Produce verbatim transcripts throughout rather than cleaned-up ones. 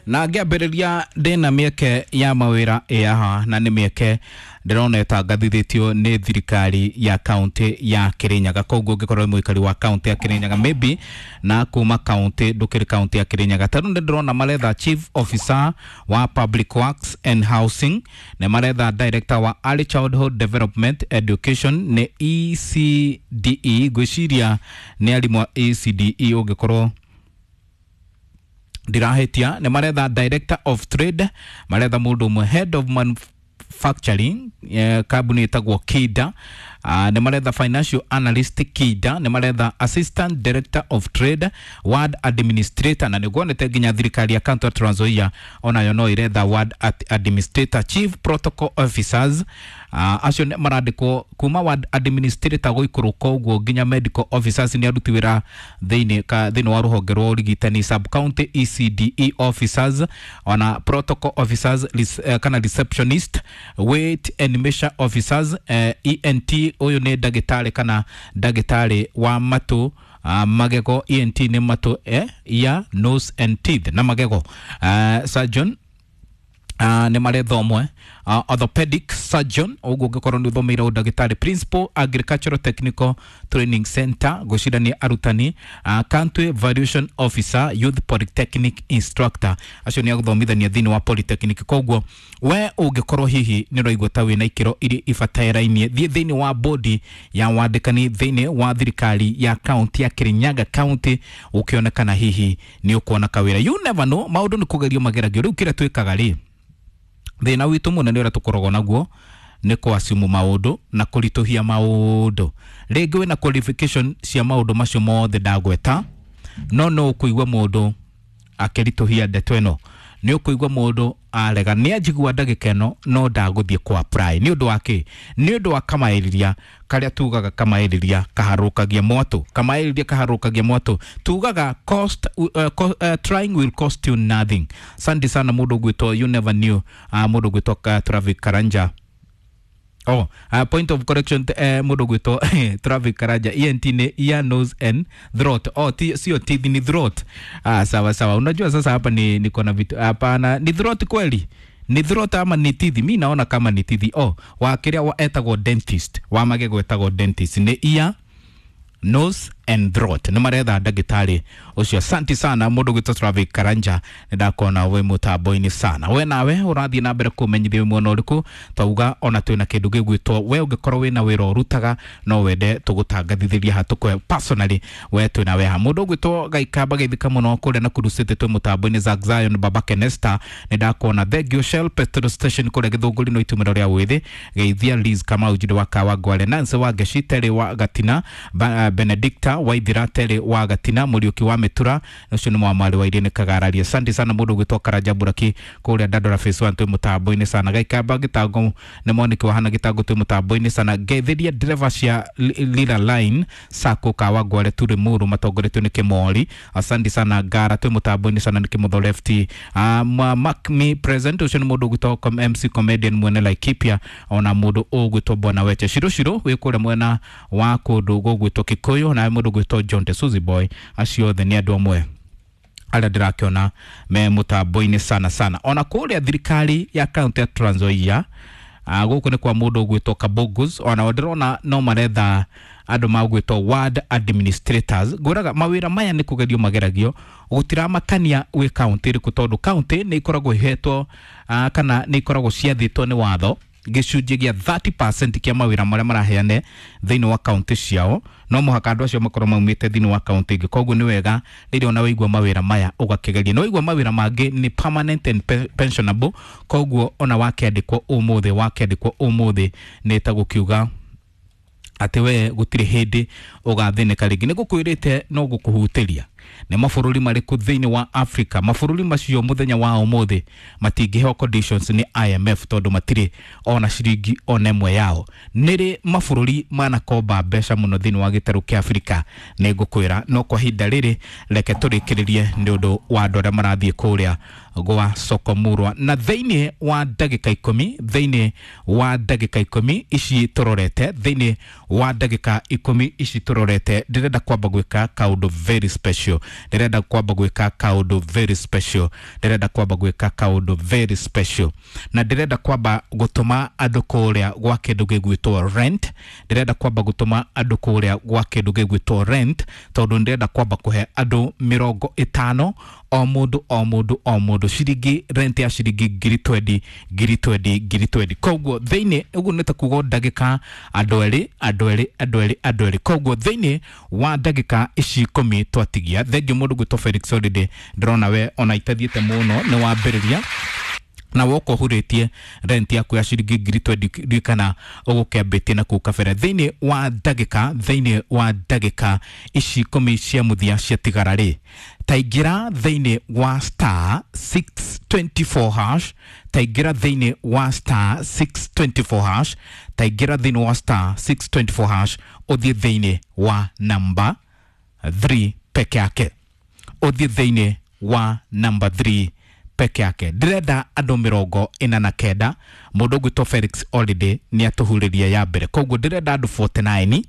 Na ngĩambĩrĩria ndĩna mĩeke ya mawĩra ĩ haha, na nĩ mĩeke ndĩrona ĩtangathithĩtio nĩ thirikari ya kaunti ya Kirinyaga. Koguo ũngĩkorwo wĩ mũikari wa kaunti ya Kirinyaga, maybe na kuma kaunti ndũkĩrĩ kaunti ya Kirinyaga, tarĩu nĩ ndĩrona maretha chief officer wa public works and housing, nĩ maretha director wa early childhood development education, nĩ E C D E. Ngwĩciria nĩ arimũ a E C D E ũngĩkorwo ndirahĩtia. Nĩ maretha director of trade, maretha mũndũ ũmwe head of manufacturing, eh, kambuni ĩtagwo Kida. uh, nĩ maretha financial analyst Kida, nĩ maretha assistant director of trade, ward administrator, na nĩguonete nginya thirikari ya county ya Trans Nzoia onayo no ĩretha ward administrator, chief protocol officers. uh, acio nĩ marandĩkwo kuma ward administrator gũikũrũka ũguo nginya medical officers, nĩ aruti wĩra thĩinĩ ka thĩinĩ wa rũhonge rwa ũrigitani, sub county E C D E officers, ona protocol officers res, uh, kana receptionist, weight and measure officers, uh, E N T, ũyũ nĩ ndagĩtarĩ kana ndagĩtarĩ wa matũ, uh, magego. E N T nĩ matũ, eh, ear, nose and teeth, na magego. uh, surgeon Uh, nĩ maretha ũmwe uh, orthopedic surgeon, ũguo ũngĩkorwo nĩ ũthomeire ũndagĩtarĩ, principal agricultural technical training center, ngwĩciria nĩ arutani, uh, county valuation officer, youth polytechnic instructor, acio nĩ agũthomithania thĩinĩ wa polytechnic. Koguo we ũngĩkorwo hihi nĩ ũraigua ta wĩna ikĩro iria ibatarainie, thiĩ thĩinĩ wa bodi ya wandĩkani thĩinĩ wa thirikari ya kaunti ya Kirinyaga County, ũkĩonekana hihi nĩ ũkuona kawĩra. You never know, maũndũ nĩ kũgerio mageragio. Rĩu kĩrĩa twĩkaga rĩ, thĩna witũ mũnene ũrĩa tũkoragwo naguo nĩ kwasimu maũndũ na kũritũhia maũndũ. Rĩngĩ wĩna qualification cia maũndũ macio mothe ndagweta, no no ũkũigua mũndũ akĩritũhia ndeto ĩno, nĩ ũkũigua mũndũ arega nĩ anjigua ndagĩka ĩno no ndagũthiĩ kũ apply. Nĩ ũndũ wa kĩ? Nĩ ũndũ wa kamaĩrĩria karĩa tugaga kamaĩrĩria kaharũkagia mwatũ, kamaĩrĩria kaharũkagia mwatũ. Tugaga cost, uh, co, uh, trying will cost you nothing. Asante sana mũndũ ũgwĩtwo you never knew, uh, mũndũ ũgwĩtwo uh, Travic Karanja. Oh, uh, point of correction, eh, mũndũ gwĩtwo Travic Karanja, E N T ni ear, nose and throat. Oh, ti, sio teeth, ni throat. Ah, sawa sawa. Unajua sasa hapa ni niko na vitu hapana, ni throat kweli? Ni throat ama ni teeth? Mi naona kama ni teeth. Oh, wa kĩrĩa wa etagwo dentist, wa magego etagwo dentist. Ni ear, nose and throat, nĩ maretha ndagĩtarĩ ũcio. Asante sana mũndũ gwĩtwo Travic Karanja, nĩ ndakona wĩ mũtambo-inĩ sana. We nawe ũrathiĩ na mbere kũmenyithia wĩ mwena ũrĩkũ. Twauga ona twĩna kĩndũ gĩgwĩtwo we ũngĩkorwo wĩna wĩra ũrutaga no wende tũgũtangathithĩria ha tũkwe personally, we twĩna we ha. Mũndũ ũgwĩtwo Gaikamba geithĩka mũno kũrĩa Nakuru City, twĩ mũtambo-inĩ. Zack Zion, Baba Kenesta, nĩ ndakona. Thank you. Shell petrol station kũrĩa Gĩthũngũri no itumĩro rĩa wĩthĩ, geithia Liz Kamau Njiri wa Kawa Ngwale, Nancy wa Ngeci, Terry wa Gatina, ba, Benedicta Waithira, Terry wa Gatina, Mũriũki wa Mĩtura, ũcio nĩ mwamwarĩ wa Irene Kagararia. Asante sana mũndũ ũgwĩtwo Karanja Buraki kũrĩa Dandora Phase one, twĩ mũtambo-inĩ sana. Gaikamba gĩtango nĩ moniki wa hana gĩtango, twĩ mũtambo-inĩ sana. Ngeithĩria ndereba cia Li- Lila Line Sacco Kawa Ngware Turi Muru matongoretio nĩ Kĩmori. Asante sana. Ngara twĩ mũtambo-inĩ sana nĩ Kĩmotho Lefty. uh, Mark me present, ũcio nĩ mũndũ ũgwĩtwo com- M C comedian mwene Laikipia, ona mũndũ ũgwĩtwo Bwana Weche Shiro Shiro wĩ kũrĩa mwena wa kũndũ gũgwĩtwo Kikuyu, na mũndũ ũgwĩtwo John de Suzy Boy. Acio othe nĩ andũ amwe arĩa ndĩrakĩona me mũtambo-inĩ sana sana. Ona kũrĩa thirikari ya kaunti ya Trans Nzoia, uh, gũkũ nĩ kwa mũndũ ũgwĩtwo Kabogus, ona ndĩrona no maretha andũ magwĩtwo ward administrators. Ngwĩraga mawĩra maya nĩ kũgerio mageragio, gũtiramakania wĩ kaunti ĩrĩkũ, tondũ kaunti nĩ ikoragwo ihetwo uh, kana nĩ ikoragwo ciathĩtwo nĩ watho gĩcunjĩ gĩa thirty percent kĩa mawĩra marĩa maraheane thĩinĩ wa kaunti ciao no mũhaka andũ acio makorwo maumĩte thĩinĩ wa kaunti ĩngĩ. Koguo nĩ wega rĩrĩa ona waigua mawĩra maya ũgakĩgeria. Nĩ waigua mawĩra mangĩ nĩ permanent and pe- pensionable, koguo ona wakĩandĩkwo ũmũthĩ wakĩandĩkwo ũmũthĩ nĩ ta gũkiuga atĩ we gũtirĩ hĩndĩ ũgathĩnĩka rĩngĩ. Nĩ ngũkwĩrĩte no gũkũhutĩria nĩ mabũrũri marĩkũ thĩinĩ wa Africa. Mabũrũri macio mũthenya wa ũmũthĩ matingĩheo conditions nĩ I M F tondũ matirĩ ona ciringi ona ĩmwe yao. Nĩrĩ mabũrũri manakomba mbeca mũno thĩinĩ wa gĩtarũ kĩa Afrika? Nĩ ngũkwĩra, no kwa ihinda rĩrĩ reke tũrĩkĩrĩrie nĩ ũndũ wa andũ arĩa marathiĩ kũrĩa. gwa soko murwa na thĩinĩ wa ndagĩka ikũmi thĩinĩ wa ndagĩka ikũmi ici tũrorete thĩinĩ wa ndagĩka ikũmi ici tũrorete ndĩrenda kwamba gwĩka kaũndũ very special ndĩrenda kwamba gwĩka kaũndũ very special ndĩrenda kwamba gwĩka kaũndũ very special na ndĩrenda kwamba gũtũma andũ kũrĩa gwa kĩndũ gĩgwĩtwo rent ndĩrenda kwamba gũtũma andũ kũrĩa gwa kĩndũ gĩgwĩtwo rent tondũ ndĩrenda kwamba kũhe andũ mĩrongo ĩtano o mũndũ o mũndũ o mũndũ ciringi rent ya ciringi ngiri twendi ngiri twendi ngiri twendi koguo thĩinĩ ũguo nĩ ta kuga ndagĩka andũ erĩ andũ erĩ andũ erĩ andũ erĩ koguo thĩinĩ wa ndagĩka ici ikũmi twatigia thengiũ mũndũ gwĩtwo Felix Holiday ndĩrona we ona itathiĩte mũno nĩ wambĩrĩria na woka ũhurĩtie rent yaku ya ciringi ngiri twendi ririkana ũgũkĩambĩtie na kũu kabere thĩinĩ wa ndagĩka thĩinĩ wa ndagĩka ici ikũmi cia mũthia ciatigara rĩ taingĩra thĩinĩ wa star six twenty four hash taingĩra thĩinĩ wa star six twenty four hash taingĩra thĩinĩ wa star six twenty four hash ũthiĩ thĩinĩ wa namba three peke yake ũthiĩ thĩinĩ wa namba three peke yake ndĩrenda andũ mĩrongo ĩna na kenda mũndũ ũgwĩtwo Felix Holiday nĩ atũhurĩria ya mbere koguo ndĩrenda andũ forty nine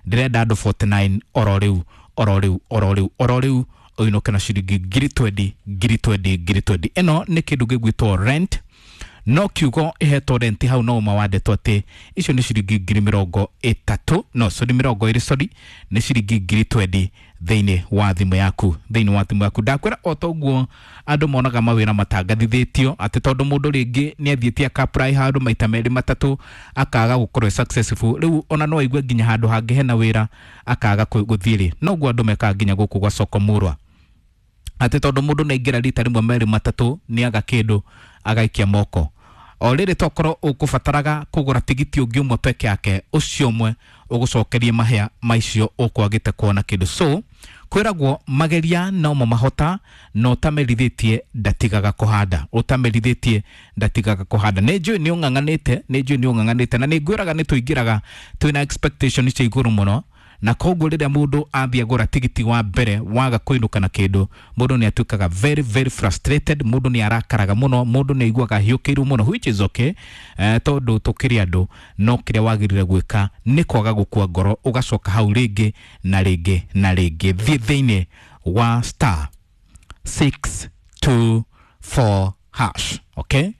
ndĩrenda andũ forty nine oro rĩu oro rĩu oro rĩu oro rĩu ũinũke na ciringi ngiri twendi ngiri twendi ngiri twendi ĩno nĩ kĩndũ gĩgwĩtwo rent no kiugo ĩhetwo rent hau no ũma wandĩtwo atĩ icio nĩ ciringi ngiri mĩrongo ĩtatũ no sorry mĩrongo ĩrĩ sorry nĩ ciringi ngiri twendi thĩinĩ wa thimũ yaku thĩinĩ wa thimũ yaku ndakwĩra o toguo andũ monaga mawĩra matangathithĩtio atĩ tondũ mũndũ rĩngĩ nĩ athiĩte aka apply handũ maita merĩ matatũ akaga gũkorwo e successful rĩu ona no aigue nginya handũ hangĩ hena wĩra akaga gũthiĩ rĩ noguo andũ mekaga nginya gũkũ gwa soko murwa atĩ tondũ mũndũ nĩ aingĩra rita rĩmwe merĩ matatũ nĩ aga kĩndũ agaikia moko o rĩrĩ tokorwo ũkũbataraga kũgũra tigiti ũngĩ ũmwe peke yake ũcio ũmwe ũgũcokerie mahĩa maicio ũkwagĩte kuona kĩndũ so kwĩragwo mageria nomo mahota na ũtamerithĩtie ndatigaga kũhanda ũtamerithĩtie ndatigaga kũhanda nĩ njũĩ nĩ ũng'ang'anĩte nĩ njũĩ nĩ ũng'ang'anĩte na nĩ ngwĩraga nĩ tũingĩraga twĩna expectation cia igũrũ mũno na koguo rĩrĩa mũndũ athiĩ agũra tigiti wa mbere waga kũinũka na kĩndũ mũndũ nĩ atuĩkaga very very frustrated mũndũ nĩ arakaraga mũno mũndũ nĩ aiguaga ahiũkĩirwo mũno which is okay eh, tondũ tũkĩrĩ andũ no kĩrĩa wagĩrĩire gwĩka nĩ kwaga gũkua ngoro ũgacoka hau rĩngĩ na rĩngĩ na rĩngĩ thiĩ thĩinĩ wa star six two four hash okay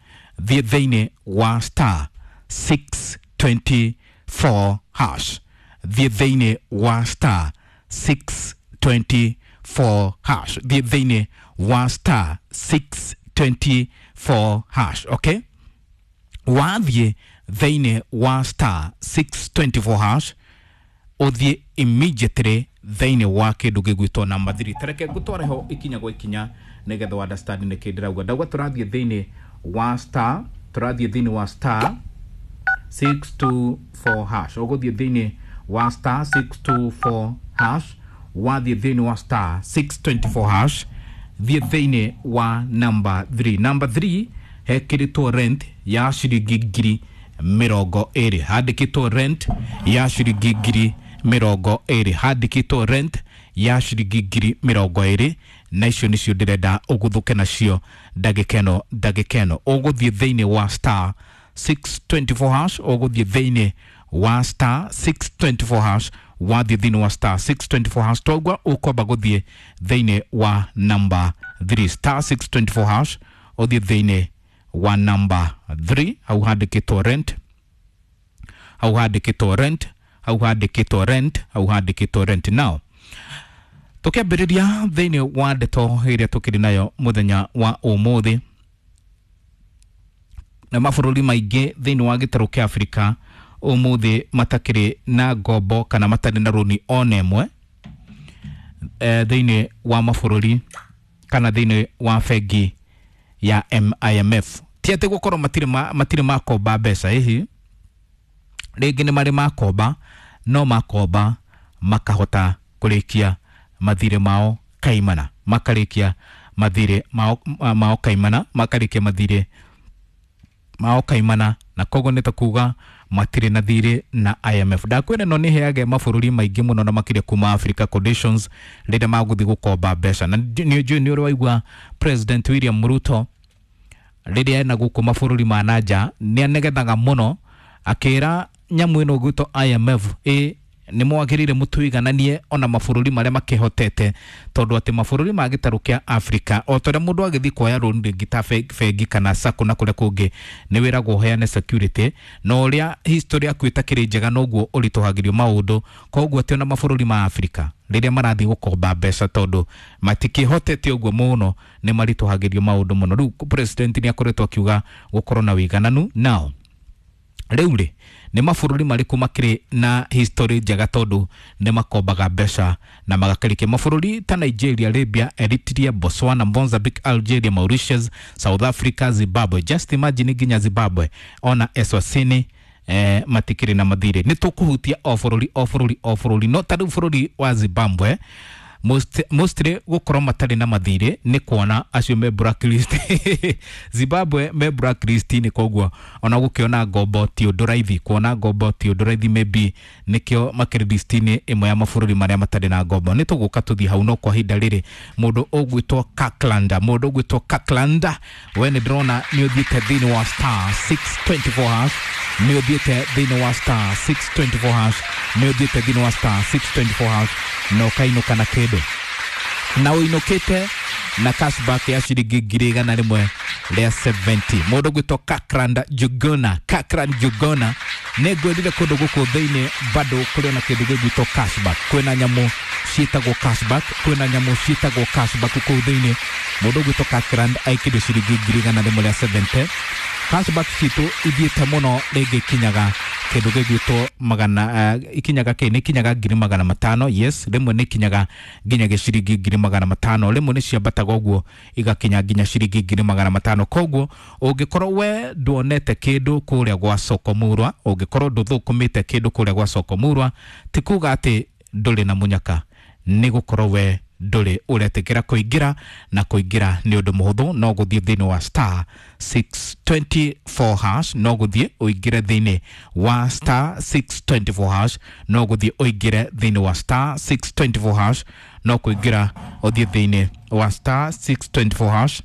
thiĩ thĩinĩ wa star six twenty four hash thiĩ thĩinĩ wa star six twenty four hash thiĩ thĩinĩ wa star six twenty four hash okay wathiĩ thĩinĩ wa star six twenty four hash ũthiĩ immediately thĩinĩ wa kĩndũ gĩgwĩtwo namba three tareke ngũtware ho ikinya gwa ikinya nĩgetha wa understand nĩkĩ ndĩrauga ndauga tũrathiĩ thĩinĩ wa star tũrathiĩ thĩinĩ wa star six two four hash ũgũthiĩ thĩinĩ wa star six two four hash wathiĩ thĩinĩ wa star six twenty four hash thiĩ thĩinĩ wa number three number three hekĩrĩtwo rent ya ciringi ngiri mĩrongo ĩrĩ handĩkĩtwo rent ya ciringi ngiri mĩrongo ĩrĩ handĩkĩtwo rent ya ciringi ngiri mĩrongo ĩrĩ na icio nĩcio ndĩrenda ũgũthũke nacio ndagĩka ĩno ndagĩka ĩno ũgũthiĩ thĩinĩ wa star six twenty four hash ũgũthiĩ thĩinĩ wa star six twenty four hash wathiĩ thĩinĩ wa star six twenty four hash twaigua ũkwamba gũthiĩ thĩinĩ wa number three star six twenty four hash ũthiĩ thĩinĩ wa number three hau handĩkĩtwo rent hau handĩkĩtwo rent hau handĩkĩtwo rent hau handĩkĩtwo rent now tũkĩambĩrĩria thĩinĩ wa ndeto ĩrĩa tũkĩrĩ nayo mũthenya wa ũmũthĩ na mabũrũri maingĩ thĩinĩ wa gĩtarũ kĩa Afrika ũmũthĩ matakĩrĩ na ngombo kana matarĩ na rũni ona ĩmwe eh, thĩinĩ wa mabũrũri kana thĩinĩ wa bengi ya I M F ti atĩ gũkorwo matirĩ ma, matirĩ makomba mbeca ĩhi rĩngĩ nĩ marĩ makomba no makomba makahota kũrĩkia mathirĩ mao kaimana makarĩkia mathirĩ mao, mao kaimana makarĩkia mathirĩ mao kaimana na koguo nĩ ta kuga matirĩ na thirĩ na I M F ndakwĩra ĩno nĩ ĩheage mabũrũri maingĩ mũno na makĩria kuma Africa conditions rĩrĩa magũthiĩ gũkomba mbeca na nĩ njũĩ nĩ ũrĩ waigua President William Ruto rĩrĩa ena gũkũ mabũrũri ma nanja nĩ anegethaga mũno akĩra nyamũ ĩno gwĩtwo I M F ĩ nĩ mwagĩrĩire mũtũigananie ona mabũrũri marĩa makĩhotete tondũ atĩ mabũrũri ma gĩtarũ kĩa Africa o ta ũrĩa mũndũ agĩthiĩ kuoya rũni rĩngĩ ta bengi kana sacco na kũrĩa kũngĩ nĩ wĩragwo ũheane security na ũrĩa history yaku ĩtakĩrĩ njega noguo ũritũhagĩrio maũndũ koguo atĩ ona mabũrũri ma Africa rĩrĩa marathiĩ gũkomba mbeca tondũ matikĩhotete ũguo mũno nĩ maritũhagĩrio maũndũ mũno. Rĩu president nĩ akoretwo akiuga gũkorwo na ũigananu nao rĩu rĩ nĩ mabũrũri marĩkũ makĩrĩ na history njega tondũ nĩ makombaga mbeca na magakĩrĩkia mabũrũri ta Nigeria, Libya, Eritrea, Botswana, Mozambique, Algeria, Mauritius, South Africa, Zimbabwe. Just imagine nginya Zimbabwe ona Eswatini eh, matikĩrĩ na mathirĩ. Nĩ tũkũhutia o bũrũri o bũrũri o bũrũri no ta rĩu bũrũri wa Zimbabwe most mostly gũkorwo matarĩ na mathirĩ nĩ kuona acio me blacklist. Zimbabwe me blacklist nĩ koguo ona gũkĩona ngombo ti ũndũ raithi, kuona ngombo ti ũndũ raithi, maybe nĩkĩo makĩrĩ list-inĩ ĩmwe ya mabũrũri marĩa matarĩ na ngombo. Nĩ tũgũka tũthiĩ hau, no kwa ihinda rĩrĩ mũndũ ũgwĩtwo Kirkland, mũndũ ũgwĩtwo Kirkland, we nĩ ndĩrona nĩ ũthiĩte thĩinĩ wa star six twenty four hash, nĩ ũthiĩte thĩinĩ wa star six twenty four hash, nĩ ũthiĩte thĩinĩ wa star six twenty four hash na ũkainũka na kĩndũ na ũinũkĩte na cashback ya ciringi ngiri igana rĩmwe rĩa seventy. Mũndũ ũgwĩtwo Kirkland Jugona, Kirkland Jugona, nĩ ngwendire kũndũ gũkũ thĩinĩ bado kũrĩ na kĩndũ gĩgwĩtwo cashback. Kwĩna nyamũ ciĩtagwo cashback, kwĩna nyamũ ciĩtagwo cashback kũu thĩinĩ. Mũndũ ũgwĩtwo Kirkland aikĩrio ciringi ngiri igana rĩmwe rĩa seventy. Cashback citũ ithiĩte mũno rĩngĩ ikinyaga kĩndũ gĩgwĩtwo magana uh, ikinyaga kĩ nĩ ikinyaga ngiri magana matano. Yes, rĩmwe nĩ ikinyaga nginya gĩciringi ngiri magana matano, rĩmwe nĩ ciambataga ũguo igakinya nginya ciringi ngiri magana matano. Koguo ũngĩkorwo we nduonete kĩndũ kũrĩa gwa Soko Murwa, ũngĩkorwo ndũthũkũmĩte kĩndũ kũrĩa gwa Soko Murwa, ti kuga atĩ ndũrĩ na mũnyaka, nĩ gũkorwo we ndũrĩ ũretĩkĩra kũingĩra, na kũingĩra nĩ ũndũ mũhũthũ, no gũthiĩ thĩinĩ wa star six twenty four hash, no gũthiĩ ũingĩre thĩinĩ wa star six twenty four hash, no gũthiĩ ũingĩre thĩinĩ wa star six twenty four hash, no kũingĩra ũthiĩ thĩinĩ wa star six twenty four hash.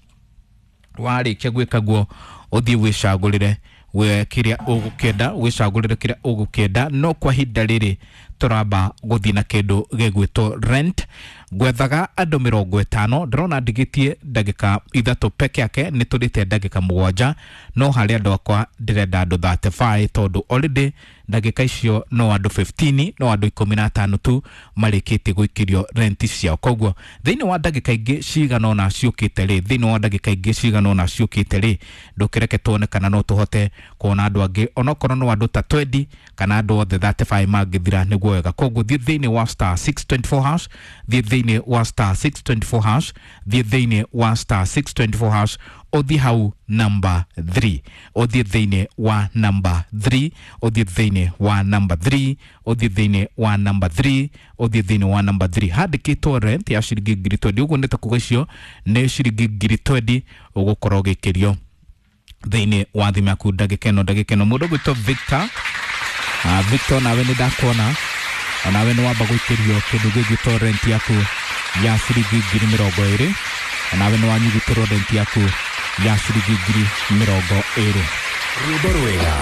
Warĩkia gwĩka guo ũthiĩ wĩcagũrĩre we kĩrĩa ũgũkĩenda, wĩcagũrĩre kĩrĩa ũgũkĩenda. No kwa ihinda rĩrĩ tũramba gũthiĩ na kĩndũ gĩgwĩtwo rent. Gwethaga andũ mĩrongo ĩtano, ndĩrona ndigĩtie ndagĩka ithatũ peke yake, nĩ tũrĩte ndagĩka mũgwanja, no harĩ andũ akwa ndĩrenda andũ thirty five tondũ already ndagĩka icio no andũ fifteen, no andũ ikũmi na atano tu marĩkĩtie gũikĩrio rent ciao. Koguo thĩinĩ wa ndagĩka ingĩ cigana ũna ciũkĩte rĩ, thĩinĩ wa ndagĩka ingĩ cigana ũna ciũkĩte rĩ, ndũkĩreke tuone kana no tũhote kuona andũ angĩ onokorwo no andũ ta twenty kana andũ othe thirty five mangĩthira nĩguo wega. Koguo thiĩ thĩinĩ wa star six twenty four hash, thiĩ thĩinĩ wa star six twenty four hash, thiĩ thĩinĩ wa star six twenty four hash, ũthiĩ hau number three, ũthiĩ thĩinĩ wa number three, ũthiĩ thĩinĩ wa number three, ũthiĩ thĩinĩ wa number three, ũthiĩ thĩinĩ wa number three. Handĩkĩtwo rent ya ciringi ngiri twenty, ũguo nĩ ta kuga icio nĩ ciringi ngiri twenty ũgũkorwo ũgĩkĩrio thĩinĩ wa thimũ yaku ndagĩka ĩno ndagĩka ĩno. Mũndũ ũgwĩtwo Victor, uh, Victor nawe nĩ ndakuona, onawe nĩ wamba gũikĩrio kĩndũ gĩgwĩtwo rent yaku ya ciringi ngiri mĩrongo ĩrĩ, onawe nĩ wanyugutĩrwo rent yaku ya ciringi ngiri mĩrongo ĩrĩ. Rwĩmbo rwega.